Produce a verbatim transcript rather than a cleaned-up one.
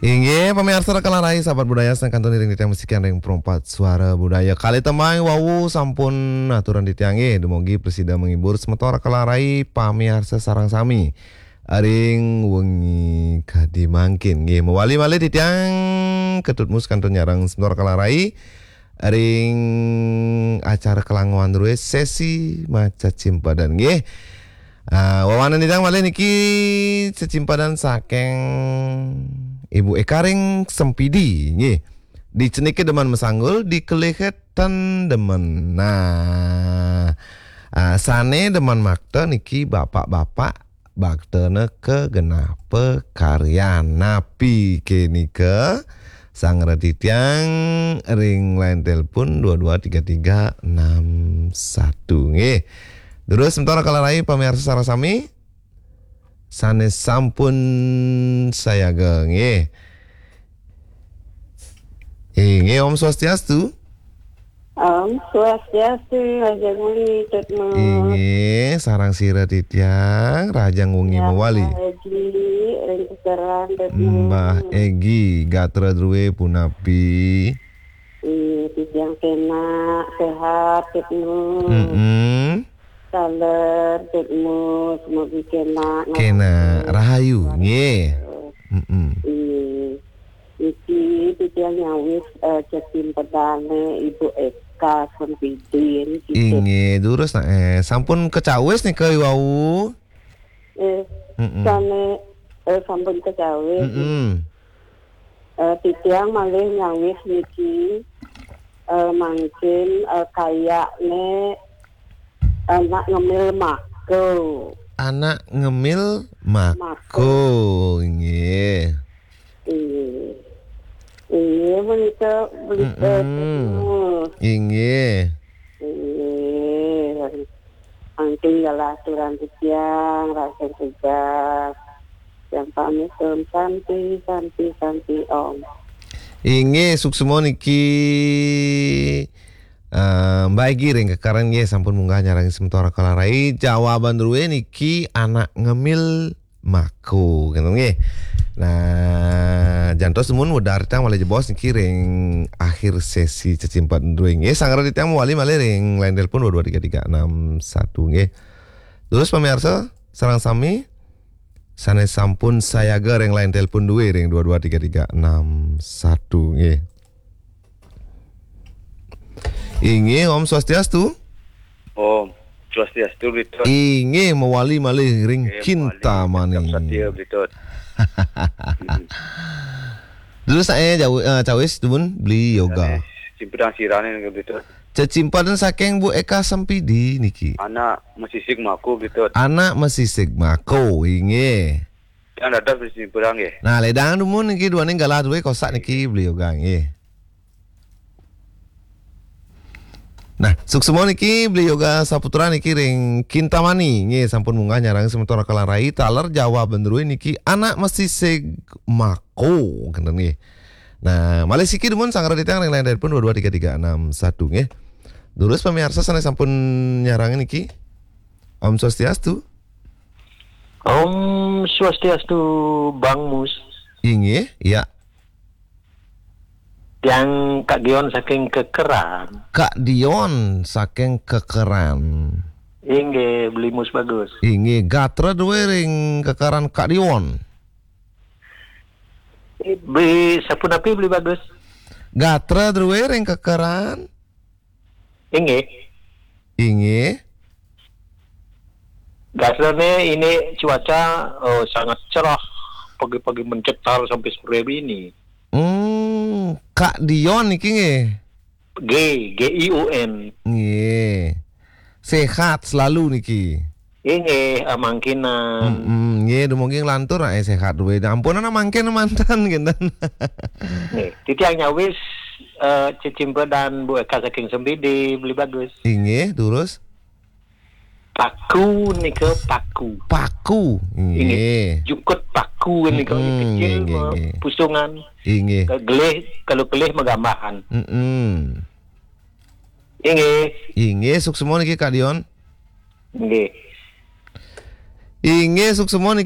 Inggih, pamiarsa Rakala Rai, sahabat budaya, sané kantun iring titiang masikian ring Perempat Suara Budaya. Kalih tembang wau sampun aturan titiang nggih, dumugi prasida menghibur semeton Rakala Rai, pamiarsa sareng sami. Ring wengi kadi mangkin nggih, mawali malih titiang Ketut Mus kantun nyareng semeton Rakala Rai ring acara Kelangoan Drué sesi macecimpedan nggih. Ah, wewanan titiang malih niki cecimpedan saking Ibu Eka ring Sempidi nggih. Dicenike demen masanggul, dikelihé ten demen. Nah, ah, sané demen makta niki bapak-bapak, baktana ka genah pakaryan. Napi ké nika? Sanggra titiang ring line telepon dua dua tiga tiga enam satu nggih. Durus semeton Rakala Rai pamiarsa sareng sami sané sampun sayaga nggih. Inggih, Om Swastiastu. Om Swastiastu, Raja Muli, Tut Mus. Inggih, sareng sira titiang, rahajeng wengi mawali. Mbah Egi, ring Kekeran, Tut Mus. Mbah Egi, gatra drué punapi? Inggih, titiang kénak, séhat, Tut Mus. Mm-mm. Taler, Tut Mus, mugi kénak. Kénak, rahayu, nggih. Mm-mm. Inggih. Niki titiang nyawis, eh, cecimpedané Ibu Eka Sempidi niki. Inggih, durus, nah, eh, sampun kacawis nika wau. Eh, Mm-mm. Sané, eh, sampun kacawis. Mm-mm. Eh, titiang malih nyawis niki, eh, mangkin, eh, kayakné Anak Ngemil Mako. Anak Ngemil Mako. Mako, nggih. Inggih. Inggih, menika berita. Mm-mm. Inggih. Inggih. Angking galah aturan titiang, rahajeng tugas. Yang pamit, Om Santi, Santi, Santi, Om. Inggih, suksma niki, eh, Mbak Egi ring Kekeran nggih, sampun munggah nyarengin semeton Rakala Rai. Jawaban drué niki Anak Ngemil Mako, gitu nggih. Nah, jantos dumun wedar titiang malih jebos niki ring akhir sesi cecimpedan drué nggih. Sanggra titiang mawali malih ring line telepon dua dua tiga tiga enam satu nggih. Terus pamiarsa, sareng sami sané sampun sayaga ring line telepon drué ring dua dua tiga tiga enam satu nggih. Inggih, Om Swastiastu. Om Swastiastu, Bli Tut. Inggih, mawali malih ring Kintamani. Satia, Bli Tut. Terus saya jauh, eh, cawis dumun Beli Yoga. Cecimpedan sira niki, Bli Tut. Cecimpedan saking Bu Eka Sempidi niki. Anak Mesisig Mako, Bli Tut. Anak Mesisig Mako, inggih. Yang dados cecimpedan nggih. Nah, ledang dumun niki duaning galah drué kosak niki Beli Yoga nggih. Nah, suksma niki Beli Yoga Saputra niki ring Kintamani nggih, sampun munggah nyarengin semeton Rakala Rai, taler jawaban drué niki Anak Mesisig Mako, kenten nggih. Nah, malih siki dumun sanggra titiang ring line telepon dua dua tiga tiga enam satu nggih. Durus pamiarsa sané sampun nyarengin niki. Om Swastiastu. Om Swastiastu, Bang Mus. Inggih, ya. Tiang Kak Dion saking Kekeran. Kak Dion saking Kekeran. Inggih, Beli Mus Bagus. Inggih, gatra drué ring Kekeran Kak Dion. Beli sapunapi Beli Bagus? Gatra drué ring Kekeran. Inggih. Inggih. Gatrané ini cuaca, eh, sangat cerah. Pagi-pagi mencetar sampai sore ini. Hmm, Kak Dion niki nggih. G, G I O N. Nggih. Sehat selalu niki. Inggih, eh, mangkinan. Mm-mm, nggih, dumugi nglantur, eh, sehat dué. Ampun, anak mangkin mantan, kinten. Nggih, titiang nyawis, eh, cecimpedan Bu Eka saking Sempidi, Beli Bagus. Inggih, terus? Paku nika paku. Paku. Inggih. Inggih. Jukut paku nika, mm-mm, kecil, nggih, nggih, nggih, pusungan. Inggih. Ke-, gelih, kalau gelih magambahan. Mm-mm. Inggih. Inggih, suksma niki Kak Dion. Inggih. Inggih, suksma niki.